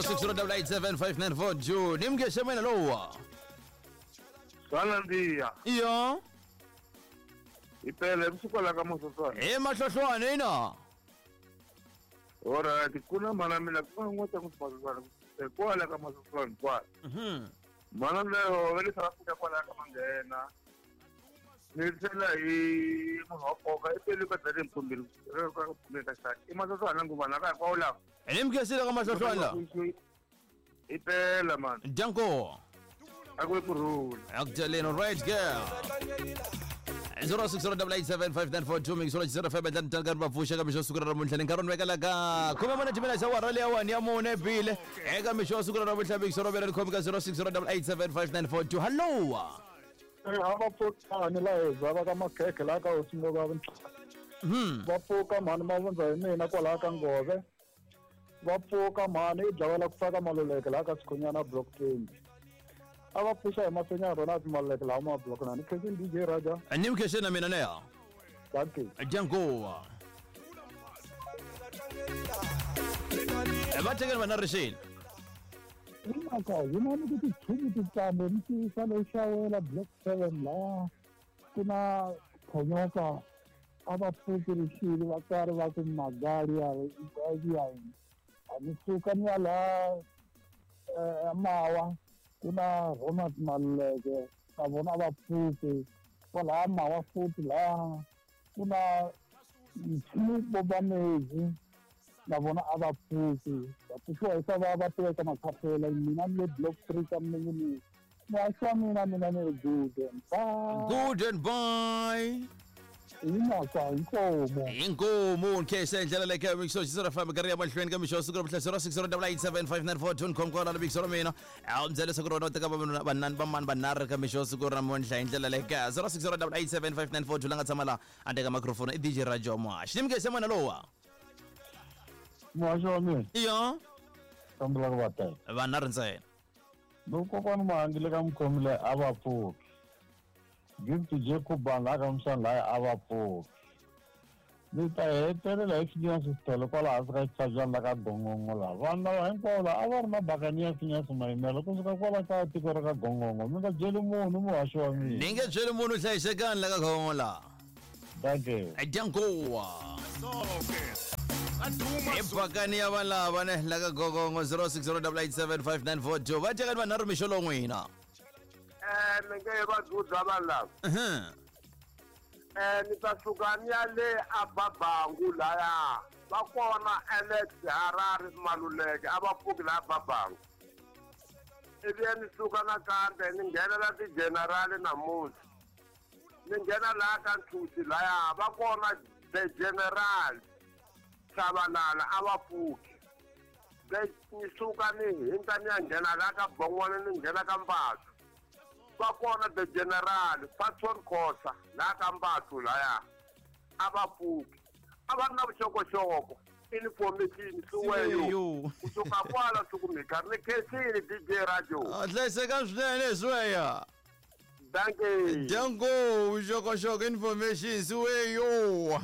0608875942 ni mngexe mina lowa. Swa nandziha. Iyo. Hi pele vusiku la ka masotswana. Hi mahlohlwane ina. Alright, ku na mhana mina ku nga n'wa ta ku masotswana. Kwala ka masotswana kwala. Mhana leyo va le South Africa kwala ka manghena. Ni tlhela hi munhu wa nkoka i pele ka dlale mpfumbiri ka pfumbiri ka xaka. I masotswana nguva na ka hinkwawo lawa. Ni mngesile ka mahlohlwane la. I pela man. Danko. A ku kurhula. Akujaleni right girl. 0608875942 mixolo xisero fm endla ntlanga va pfuxa ka mixo siku ra namuntlha ni nkarhi vekela ka khume mune timela xa wara leya wani ya mune bile eka mixo siku ra namuntlha mixolo vela ni khomi ka 0608875942 hallo a va pfukani la heza va ka makhekhe laha ka hosi ngova va pfuka mhani mavundza hi mina kwalaha ka ngove va pfuka mhani i dlawela ku faka maluleke laha ka sikhonyana block 20 a va pfuxa hi mafenya rona ti maluleke laha ma block na ni khensini DJ Raja ni mkhexeni na mina neya danke dyankowa va tekeni vana rixini hi mhaka hi na ni ku tichumu titsambo ni tivisa lexawela block 7 laha ku na khonyoka a va pfuki rixile vatswari va ku magali ya ya a ni suka ni ya laha mawa ku na Ronald Maluleke na vona a va pfuki kwalaha mawa futhi laha ku na nchumu bobamezi na vona a va pfuki va pfuxiwa hi swa va va tiveka makhafela mina ni le block 3 ka mingi muhaxi wa mina mina ni ri good and bye good and bye hi mhaka inkomo inkomo nkhexe ndlela leyi mixo xi famba karhi ya mahlweni ka mixo siku ra vuhla 0608875942 khomkola na mixo ra mina a mi byela leswaku rona u teka vavanuna vanani vamani vanharhu ka mixo siku ra namuntlha hi ndlela leyi ka 0608875942 la nga tshama laha a teka microphone i DJ Rajo Muhaxi ni mukhexe mwana lowa muhaxi wa mina iyo kombela ku va teka vanharhu ntsena loko kokwani mahangile ka mukhomi leyi a va pfuki gift jacob laha ka musani laya a va pfuki ni ta hetelela hi phinyasi xitolo kwala hansi ka xitshabyana la ka gongongo laha vanhu lava hinkwavo laha a va ri na bakani ya phinyasi mayimelo kusuka kwala ka tiko ra ka gongongo mi nga byeli munhu muhaxi wa mina ni nge byeli munhu hlayisekani la ka gongongo laha danke dyankowa i bakani ya valava ne la ka gogongo 0608875942 va tekani vanharhu mixo lowu n'wina Mi nge va dzudza vanhu lava. Ni ta suka ni ya le a Babangu laya. Va kona Alex Harare Maluleke a va pfuki laha Babangu. Ivi ni suka nakambe ni nghenela ti-general namuntlha. Ni nghena laha ka Nthusi laya va kona the general Tshabalala a va pfuki. Ni suka ni hindza ni ya nghena laha ka Bongwana ni nghena ka Mbathu. Va kona the general Patson Khosa laha ka Mbathu laya a va pfuki. A va ri na vuxokoxoko information siweyo kusuka kwala sukumika ni khensile DJ Radio. Hlayisekani swinene siweya. Danke. Danko vuxokoxoko information siweyo.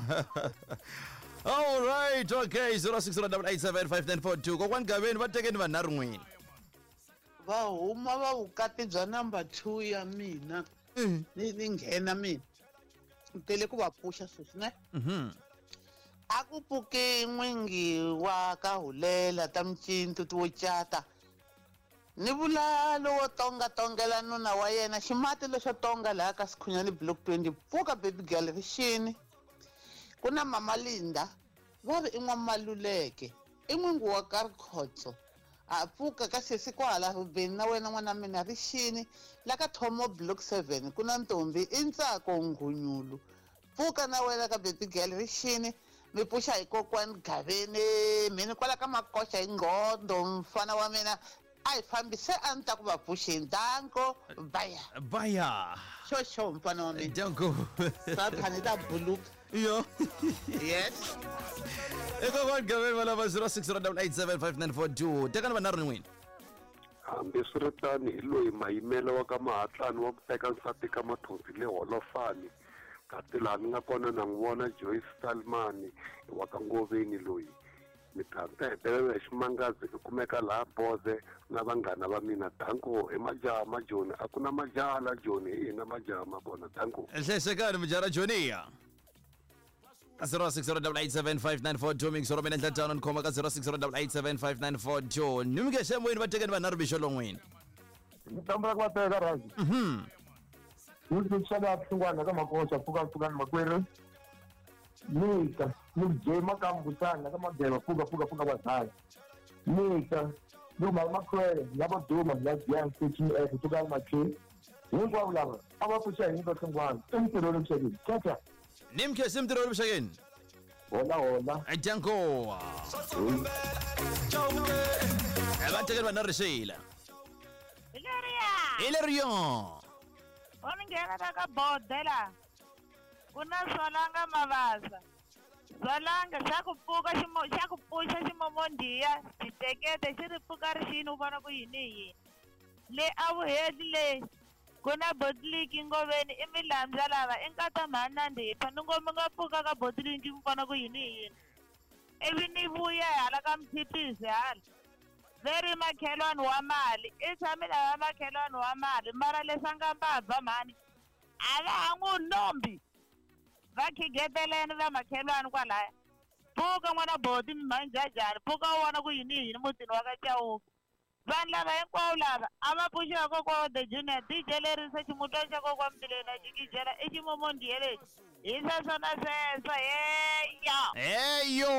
All right, okay 0608875942 kokwani Gaveni va tekeni vanharhu n'wini. Va huma va vukati bya number 2 ya mina. Ni nghena mina. Ni tele ku va pfuxa sweswi ne. A ku pfuki n'wingi wa ka hulela ta micintu to cata. Ni vula lowo tonga tongela nuna wa yena ximati lexo tonga laha ka Sikhunyani block 20 pfuka baby girl rixini. Ku na mama Linda va ri i n'wamaluleke i n'wingi wa ka Rikhotso a pfuka ka sesi kwala Rubeni na wena n'wana mina rixini la ka Thomo block 7 ku na ntombi i Ntsako Nghunyulu pfuka na wena ka baby girl rixini mi pfuxa hi kokwani Gaveni mini kwala ka Makoxa hi nghondo mfana wa mina a hi fambise a ni ta ku va pfuxeni danko baya baya xo mfana wa mina danko sathani ta buluka iyo yes ekokwani Gaveni va lava 0608875942 tekani vanharhu ni n'wini. Hambiswiritano hi loyi mayimelo wa ka Mahatlani wa ku teka nsati ka Mathonsi le Holofani kasi laha ni nga kona na n'wi vona Joyce Salmani wa ka Ngoveni loyi. Mi ta ta hetelela hi ximangazi i kumeka laha Boze na vanghana va mina. Danko i majaha ma Joni, a ku na majaha la Joni, hi hina majaha ma kona. Danko. Nhlesekani mujaha ra Joniya. 0608875942 mixoro mina endla tano ni khoma ka 0608875942 ni mi nge moyeni va tekeni vanharhu mixo lon'wini. Ni tambula ku va teka Raji. Ni tsundzuxa Hlungwana ka Makosa, pfuka pfukani makwerhu. Mita, ni byema Makambutana ka Mageva, pfuka pfuka pfuka vazali. Mita, ni mhaka makhwele lavo duma la Giant 13F pfuka makhe. Hinkwavo lava a va pfuxa hi nyika Hlungwana. I ntirho lowu xekini. Tata. Ni mkhe ntirho lowu xekini. Hola hola. Danko. Va tekeni vanharhu xila. Hi leriya. Hi leriya. U ni nghena la ka bodela. Ku na Swalanga Mavasa. Swalanga xa ku pfuka ximo xa ku pfuxa ximomondiya xitekete xi ri pfuka ri xini u vona ku yini hi yini. Le a vuheli le ku na botliki ngoveni i milambyana lava i nkata mhani na ndipha ni ngo mi nga pfuka ka botliki mi vona ku yini hi yini. Ivi ni vuya hala ka mphitisi hala. Ve ri makhelwani wa mali i tshame lava makhelwani wa mali mara leswi a nga mbabva mhani a va ha n'wi lombi. Va khigeteleni va makhelwani kwalaya. Pfuka n'wana boti mhanjhajhani pfuka u vona ku yini hi yini mutini wa ka Chauke. Vanhu lava hinkwavo lava a va pfuxiwa kokwa wa the junior DJ lerisa ximutwana xa kokwa Mtileni a jikijela i ximomondiye lexi. Hi sweswo na sweswo heya. Heyo.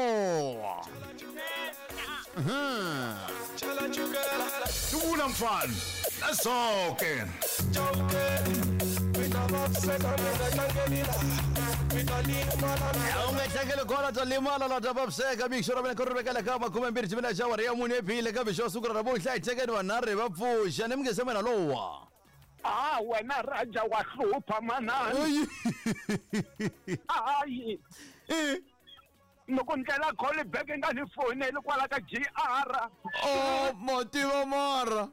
Dubula mfana. Nasoke. U nga tlangeli kona ta limala la ta vaviseka mixo ra mina ku ri vekela ka makumembirhi xivina xa wari ya mune ebile ka mixo wa siku ra namuntlha hi tekeni vanharhu hi va pfuxa ni mi nge se mina lowa. Ah, wena Raja wa hlupha manani. Hayi. Loko ndlela call back nga ni foneli kwala ka GR. Oh, mativa mara.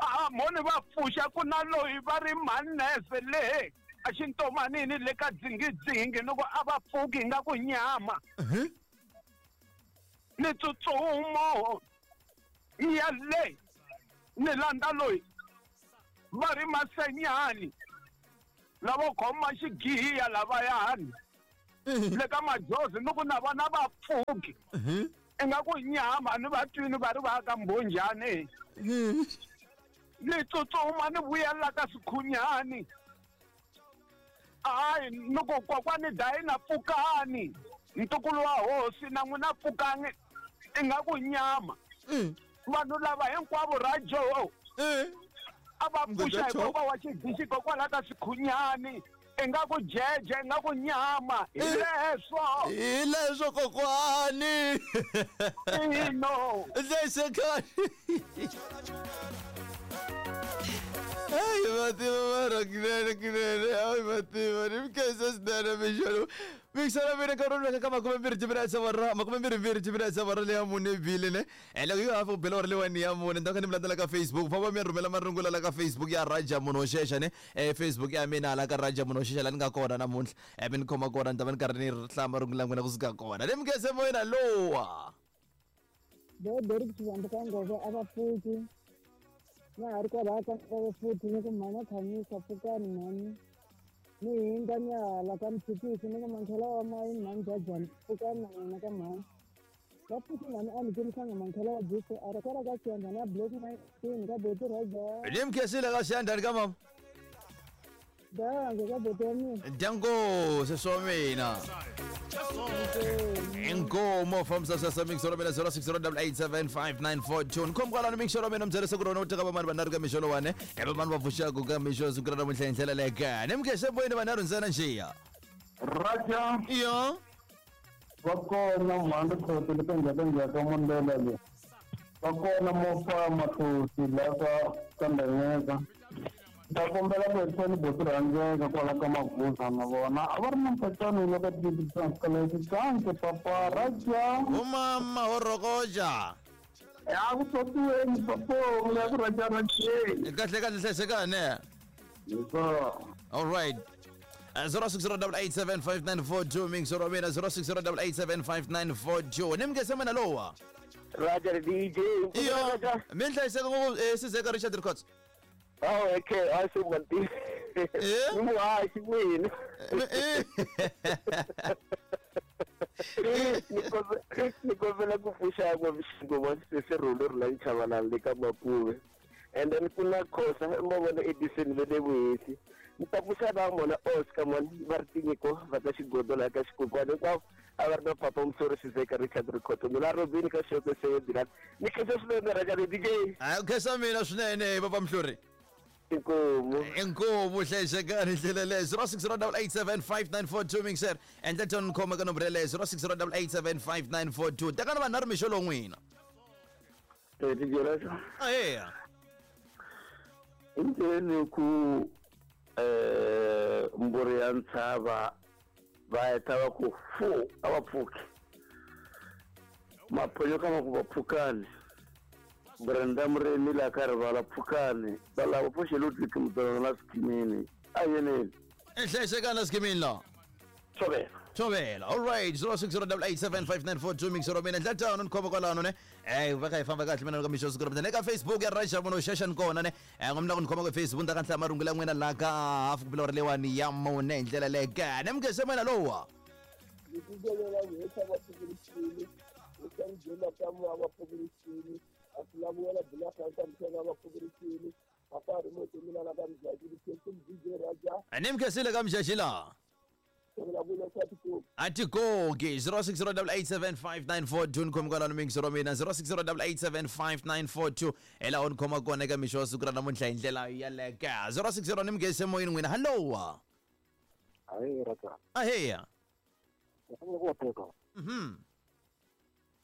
Ah, moni va pfuxa ku na loyi va ri manese le a xintomanini le ka dzingidzingi loko a va pfuki nga ku nyama. Ni tsutsumo ya le ni landza loyi va ri masenyani lavo khoma xigiya lavayani le ka majozi ni ku na vona va pfuki ingaku nyama ni va twini va ri va ka mbhonjani. Ni tsutsuma ni vuyela ka Sikhunyani. Hayi ni ku kokwani Dayina pfukani ntukulu wa hosi na n'wina pfukani ingaku nyama. Vanhu lava hinkwavo Rajo a va pfuxa hi kokwa wa xidixi kokwala ka Sikhunyani ingaku jeje ingaku nyama. Hi leswo. Hi leswo kokwani. Ino. Nhlesekani. Ai, mativa mara kinene kinene. Ai, mativa ni mkesa swinene mixo. Mixo ra mina nkarhi wu ka makumembirhi timinetse wa makumembirhimbirhi timinetse wa leya mune bile ne. Loko yi hafu bela wa lewa ya mune ndaka ni mi landzela ka Facebook. Famba mi rhumela marungula la ka Facebook ya Raja Munhu Xexa ne. Facebook ya mina la ka Raja Munhu Xexa la ni nga kona namuntlha. Mi ni khoma kona ni ta va ni karhi ni hlaya marungula n'wina kusuka kona. Ni mkese moyena lowa. Bo Derek Xivambu ka Ngove a va pfuki. Na ha ri kwalaya ka Ngove futhi ni ku mhani Khanyisa pfukani mhani. Ni hindza ni ya hala ka Mphikisi ni ku mankhela wa mayini mhani Jajani pfukani na n'wina ka mhani. Va pfuki mhani a ni kurisanga mankhela wa Jesu a ri kwala ka Xiyandhani ya Block 19 ka Boti Raja. Ni mkhesile ka Xiyandhani ka mama. Dango ka boti wa mina. Dango sweswo wa mina. Inkomo fambisa sweswo mixo ra mina 0608875942. Ni khoma kwalano mixo ra mina mi byela leswaku rona u teka vamani vanharhu ka mixo lowani. Hi vamani va pfuxaka ka mixo siku ra namuntlha hi ndlela leyi ka. Ni mkhese moyeni vanharhu ntsena nxiya. Raja. Yo. Va kona mhani Khoto le ka Njhakanjhaka ka Mondela le. Va kona Mofa Mathosi la ka Kandanyeka. Ta kombela ku hetisa ni boti rhandzeka kwala ka Maguza na vona a va ri na mpacano loko tikanke papa Raja. Umama ho rokoja. Ya ku tsotiweni papo la ku Raja Rajeni. Kahle kahle hlayisekani. Yes sir. All right. 0608875942 mixo wa mina 0608875942 ni mukese mina lowa Roger DJ. Iyo, mi hlayiseka ngopfu Sizeka Richard Records. Oh, okay, a swi nga tivi. Ni muhaxi n'wina. Ni kombela ku pfuxa n'wavuxingo sesi Rhulu ri la Nchavalala le ka Mapuve. And then ku na Khosa ma vona Edison ve le Vuhesi. Ni ta pfuxa na mona Oscar mona va ri tinyiko va ka xigodo laha ka xikukwana hinkwavo a va ri na papa Musori Sizeka Richard Rikhotso mina Robin ka Xoko Seyedilani ni khensa swinene Rhangani DJ. A khensa mina swinene papa Mhluri. Inkomu. Inkomu hlayisekani ndlela leyo 0608875942 mixer endla tona khoma ka nomboro yeleyo 0608875942 tekana vanhu na ri mixo lowu n'wina. DJ Raja. Aheya. Endleni ku mburi ya ntshava va heta va ku fu a va pfuki maphonyo ka ma ku va pfukani Brenda Muremi la ka rivala pfukani va lava pfuxe Ludwig Mudololo na Skimini a yeneni Hlayisekani Skimini la Tshovela Tshovela all right 0608875942 mixer wa mina ndla tano ni khoma kwalano ne va kha hi famba kahle mina ka mixo siku ra mina eka Facebook ya Raja Mono Xaxa ni kona ne ngomna ku ni khoma ka Facebook ni ta ka nhlaya marungula ya n'wina laha ka hafu ku bila leyiwani ya mune hi ndlela leyi ka ne mukese mina lowa ni mukesile ka mixaxi laha atikoki 0608875942 ni khomi kwalano mixo ra mina 0608875942 hi laha u ni khoma kona eka mixo wa siku ra namuntlha hi ndlela yaleka 060 ni mugese moyeni n'wina hallowa Hayi Raja. Aheya. Ngifanele ku teka.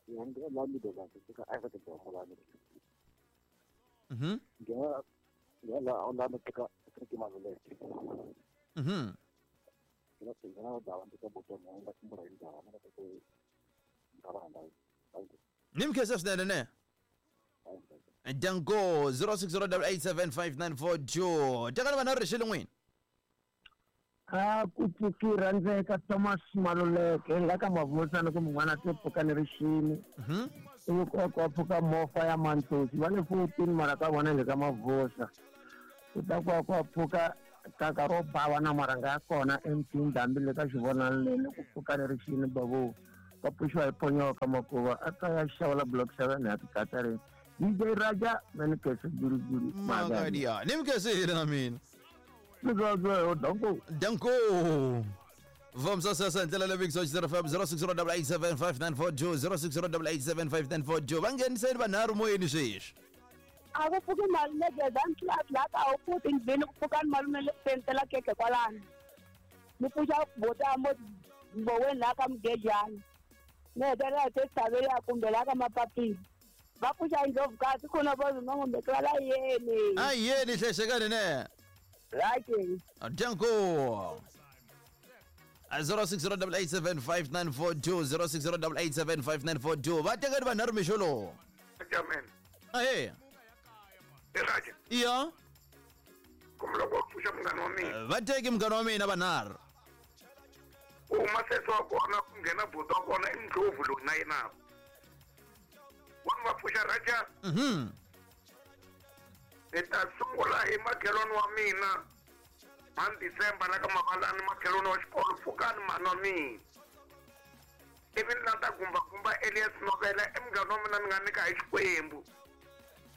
Ngiyangena la middle la ka Africa Dzonga la. Ngiyana ngiyana la ka Afrika Maluleke. Nimkese swinene ne danko 0608875942 tekani vanhu ri xile n'wini a ku pfuki rhandzeka Thomas Maluleke la ka Mavusana ku mun'wana se pfuka ni rixini ivi ku ku pfuka mofa ya Mantsosi va le 14 mara ka vona le ka Mavusa ku ta ku ku pfuka kaka ro bava na maranga ya kona emtini hambi le ka xivonani lele ku pfuka ni rixini babu va pfuxiwa hi ponyoka makuva a ta ya xawula block 7 ya tikatarini DJ Raja mani kese guruguru magadia ni mkesile na mina danko danko vamsa sasa ndlela leyi big 0 0608875942 0608875942 va ngheniseni vanharhu moyeni sweswi a ku pfuki malume Gezani la ka a wu pfuki ndlwini ku pfukani malume le pentela keke kwalano ni pfuxa bota mo mboweni laha ka Mugejani ni hetelela hi te kumbe laha ka Mapapila va pfuxa Indlovukazi khona va zuma va la yeni a yeni hlayisekani ne right danko 0608875942 0608875942 va tekani vanharhu mixo lowu Amen. Aheya. Raja. Iya. Kumbe loko pfuxa munghana wa mina. Va teki munghana wa mina vanharhu. Ku huma sesi wa kona ku nghena buti wa kona i Ndlovu loyi na yena. Wa va pfuxa Raja. Ni ta sungula hi makhelwani wa mina. Man December la ka Mavalani makhelwani wa xikolo pfukani mhani wa mina. Ivi ni lata gumba Elias Novela i munghana wa mina ni nga nyika hi Xikwembu.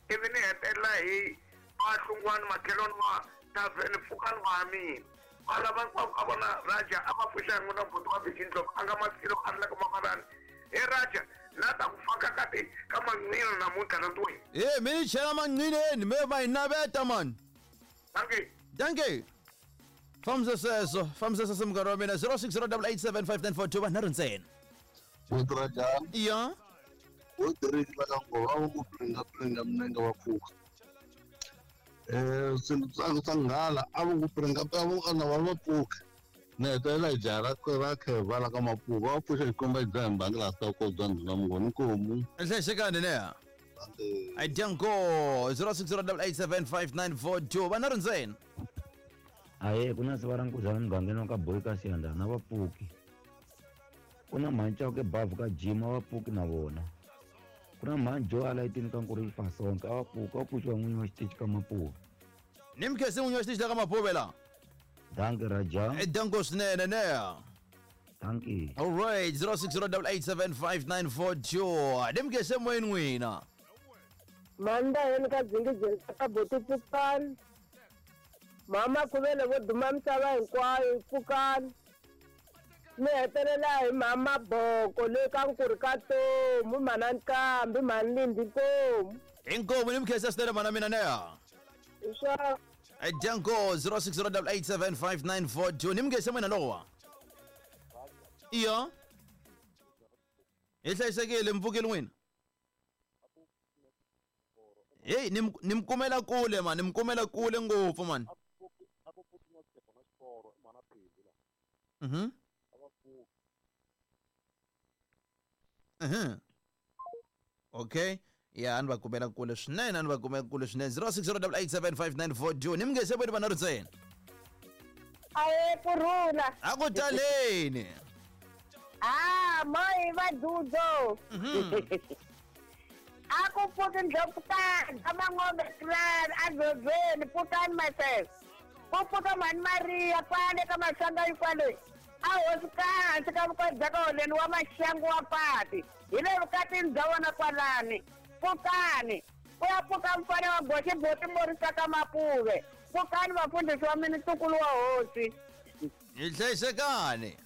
Ivi ni hetelela hi Mahlungwani makhelwani wa Taveni pfukani wa mina. Va lava hinkwavo ka vona Raja a va pfuxa hi n'wina buti wa Vicky Ndlovu a nga masilo a ri la ka Mavalani. He Raja na ta ku faka ka ti ka manqina namuntlha na ntweni. He mi ni chela manqineni me va hi naveta mani. Dankie. Dankie. Fambisa sweswo fambisa sweswo munghana wa mina 0608875942 vanharhu ntsena. Raja. Iya. Wo tirhisa ka ngova va ku pringa minenge va pfuka. Swilo swa nghala a va ku pringa a va ana va va pfuka. Ni hetelela hi jaha ra kheva la ka Mapuva va pfuxa xikomba dzaha hi mbangi laha swa ko bya ndhuna mungoni nkomu. Hlayisekani ne. Danko 0608875942 vanharhu ntsena. Ahee, ku na siva ra nkuzana mugangeni wa ka Boyi ka Siyandhana a va pfuki. Ku na mhani Chauke bavhu ka Jim a va pfuki na vona. Ku na mhani Joe a layitini ka Nkuri Xifasonke a va pfuki, a va pfuxiwa n'winyi wa xitichi ka Mapuve. Ni mi khensi n'winyi wa xitichi la ka Mapuve la. Dankie Raja. Danko swinene ne. Dankie. All right, 0608875942. Ni mi khensi emoyeni n'wina. Manda yeni ka dzingidzingi ka boti pfukani. Mama Khuvele vo duma misava hinkwayo pfukani. Mi hetelela hi mama Boko le ka Nkuri ka Tomu, mhana Nqambi, mhani Lindi Nkomu. Inkomu ni mi khensa swinene mhana mina neya. Hi swona. Danko 0608875942. Ni mi khensa mina lowa. Iyo. Hi hlayisekile mi pfukile n'wina. Hey, ni mi kumela kule man, ni mi kumela kule ngopfu man. Okay. Ya, ni va kumela kule swinene, ni va kumela kule swinene. 0608875942. Ni mi nge se voni vanharhu ntsena. Aye kurhula. A ku taleni. Ah, moyi va dudzo. A ku pfuki ndlopfukani, a mangombe clan, a dzozweni, pfukani myself. Ku pfuka mhani Maria kwale ka Masanga kwale. A hosi ka hansi ka vukati bya ka holeni wa maxangu wa pati. Hi le vukatini bya vona kwalani. Pfukani. Ku ya pfuka mfana wa goxi boti morisa ka Mapuve. Pfukani vafundhisi wa mina ntukulu wa hosi. Hi hlayisekani.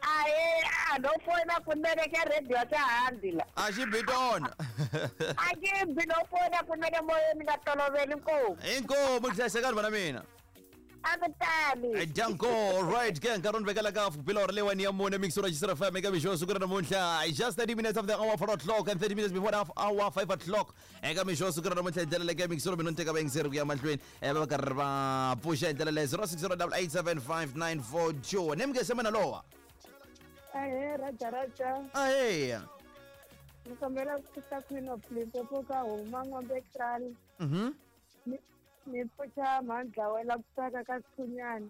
Ahe, a no foyina kunene xa radio xa handi la. A xi bi tona. A xi bi no foyina kunene moyeni nga toloveli nkomu. Inkomu hlayisekani vana mina. A ku tali. Danko, right, ke nkarhi ni vekela ka bila hora leyiwani ya mune mixo ra Xisera FM eka mixo siku ra namuntlha. Just 30 minutes of the hour 4 o'clock and 30 minutes before the hour 5 o'clock. Eka mixo siku ra namuntlha hi ndlela leyi ka mixo mina ni teka vayingiseri ku ya mahlweni. Va karhi va pfuxa hi ndlela leyi 0608875942. Ni mi nge se mina lowa. Ahee, Raja Raja. Ahee. Ni kombela ku pfuxa Queen of Limpopo ka huma N'wambe Kraal. Ni pfuxa mhani ku saka ka Sikhunyana.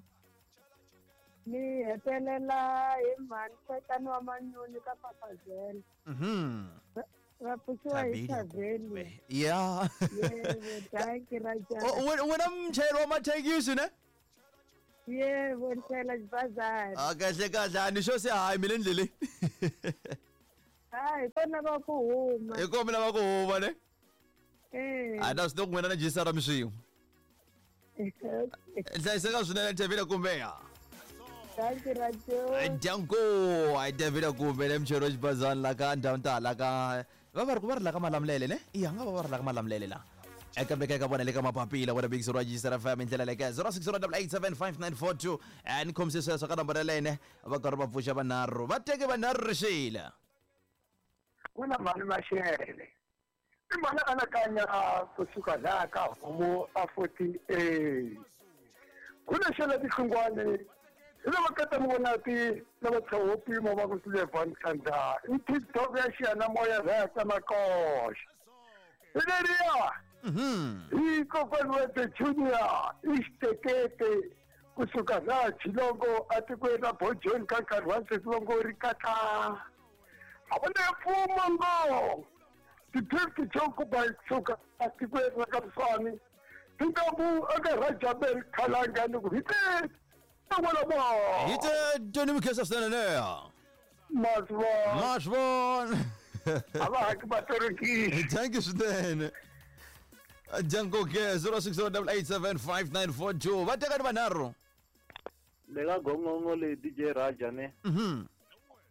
Ni hetelela hi mhani Xetani wa Manyoni ka Papazela. Va pfuxiwa hi Thaveni. Yeah. Yebo, dankie Raja. Wena mchayeri wa mathekisi ne? Yebo, ni chayela xibazana. A kahle kahle a ni xo se hayi mi le ndleleni. Hayi, hi kona va ku huma. Hi kona mi lava ku huma ne? Eh. A na swi tiva ku n'wina na jisara mi swin'we. Hlayiseka swinene Thavile kumbe ya. Dankie Rajo. Danko, ai Thavile kumbe le mchayeri wa xibazana la ka ndhawu ta la ka va va ri ku va ri la ka Malamulele ne? Iya nga va va ri la ka Malamulele la. Eka mbeka eka vona le ka mapapila wena big zero Xisera FM hi ndlela leyi ka 0608875942. Ni khomise sweswo ka nomboro yaleyo ne va karhi va pfuxa vanharhu va teke vanharhu rixile. Ku na mhani Maxele. I mhani anakanya kusuka laha ka homu a 48. Ku na xela tihlungwani hi lava kata mi vona ti lava tshaho pimo va ku Silevhan Khandza. I TikTok ya xiyanimoya laha ka Makoxa. Hi leriya. Hi kokwani wa the Junior i xitekete kusuka laha Chilongo atikweni ra Bojoni ka nkarhi wa sweswi va ngo ri katla. A va na mfumo ngo ti-fifty Jokuba kusuka atikweni ra ka Mswani tintambu eka Rajabel Khalanga ni ku hi te Hi te Tony Mkhesa swinene ne. Masvona. Masvona. A va haki vatorokisi. Thank you swinene. Janko ke 0608875942. Va teka ni vanharhu. Le ka gongongo leyi DJ Raja ne.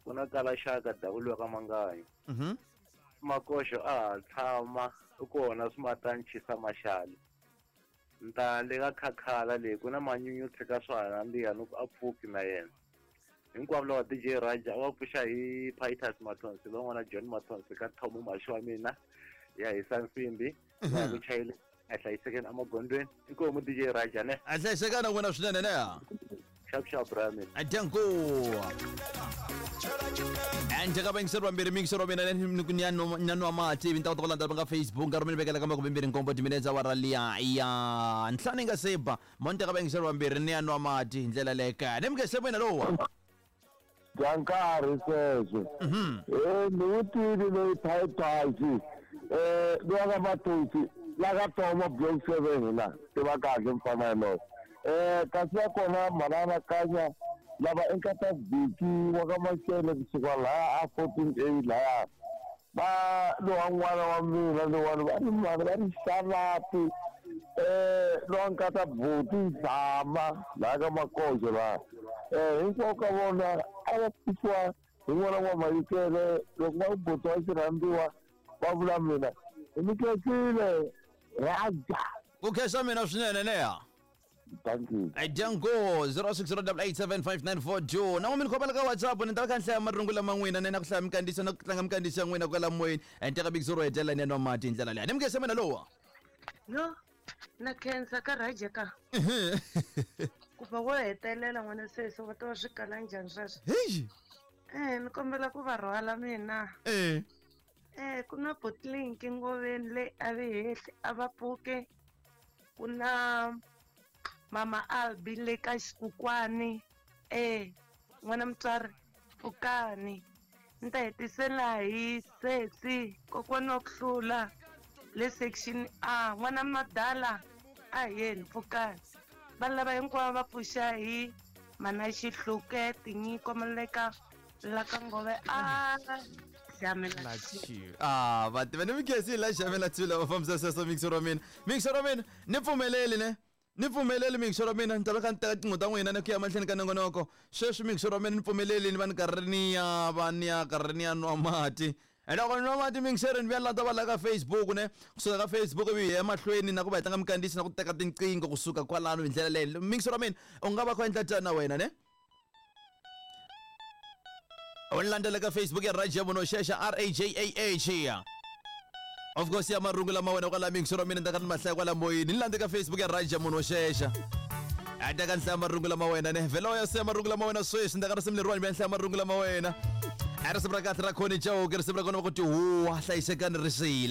Ku na kala xaka davulwa ka Manganyi. Makoxo a ha tshama u kona swimatanchisa maxali. Nta le ka khakhala leyi ku na manyunyu tshika swa ha nandziha ni ku a pfuki na yena. Hinkwavo lava DJ Raja a va pfuxa hi Pitus Mathonsi van'wana John Mathonsi ka Thomo Maxi wa mina ya hisa nsimbi ya ku chayele a hlayisekeni emagondzweni. Inkomu DJ Raja ne. A hlayisekana wena swinene ne. Xap xap bra mina. Danko. Njhaka vayingiseri vambirhi miyingiseri wa mina ni ya nwa mati ivi ni ta kota ku landzela va nga Facebook nkarhi mi ni vekela ka 27 timinetse awara liya ya ntlhanu yi nga se ba mo ni teka vayingiseri vambirhi ni ya nwa mati hi ndlela leyo kaya ni mukese mina lowa bya nkarhi sweswo e ni wu tivi loyi phayiphaxi um lowa ka mathosi la ka toma block 7 la tiva kahle mfana yalowo um kasi va kona mhana anakanya lava i nkata vhiki wa ka maxele kusuka laha a 14 A laya va lowa n'wana wa mina lowani va ri mhani va ri xalapi um lowa nkata buti zama laha ka makoxo laha um hinkwavo ka vona a va pfuxiwa hi n'wana wa mayikele loko va ku buti wa xirhandziwa va vula mina hi mi khensile raja ku khensa mina swinene neha thank you Dyango 0608875942 na n'wi mi ni khomela ka WhatsApp ni ta va kha ni hlaya marungu lama n'wina ni na ku hlaya minkandziyiso na ku tlanga minkandziyiso ya n'wina kwala moyeni ni teka bikisi ro hetelela ni ya nwa mati hi ndlela leyi ni mi khensa mina lowa Yo, na khensa ka Raja ka. Ku va wo hetelela n'wana sesi va ta va swi kala njhani sweswo? Heyi. Eh, ni kombela ku va rhwala mina. Eh. Eh, ku na Botlinki ngoveni leyi a vi hehli a va pfuke. Ku na Mama Albi le ka xikukwani. Eh, n'wana mutswari pfukani. Ni ta hetisela hi sesi kokwana wa ku hlula le section A. N'wana madala a hi yeni pfukani. Vanhu lava hinkwavo va pfuxa hi mana Xihluke tinyiko maleka la ka ngove a xamela Ah, va tiva ni mi khensile la xavela tshila va fambisa sweswo mixer wa mina mixer wa mina ni pfumeleli ne ni pfumeleli mixer wa mina ni ta va kha ni teka tinqingho ta n'wina ni ku ya mahlweni ka nongonoko sweswi mixer wa mina ni pfumeleli ni va ni karhi ni ya va ni ya karhi ni ya nwa mati loko ni nwa mati mixer ni vuya landza va la ka Facebook ne kusuka ka Facebook ivi hi ya emahlweni na ku va hi tlanga minkandziyiso na ku teka tinqingho kusuka kwalano hi ndlela leyo mixer wa mina u nga va kha u endla tani na wena ne u ni landzela ka Facebook ya Raja Munoxexa R A J A H ya of course ya marungu lama wena kwala mixer wa mina ni ta ka ni mahlaya kwala moyeni ni landze ka Facebook ya Raja Munoxexa a ta ka ni hlaya marungu lama wena ne vhela ya siya marungu lama wena sweswi ni ta ka risimu leriwani mi ya hlaya marungu lama wena a risimu ra kahle ra khoni chauke risimu ra kona va ku tihuwa hlayisekani risila.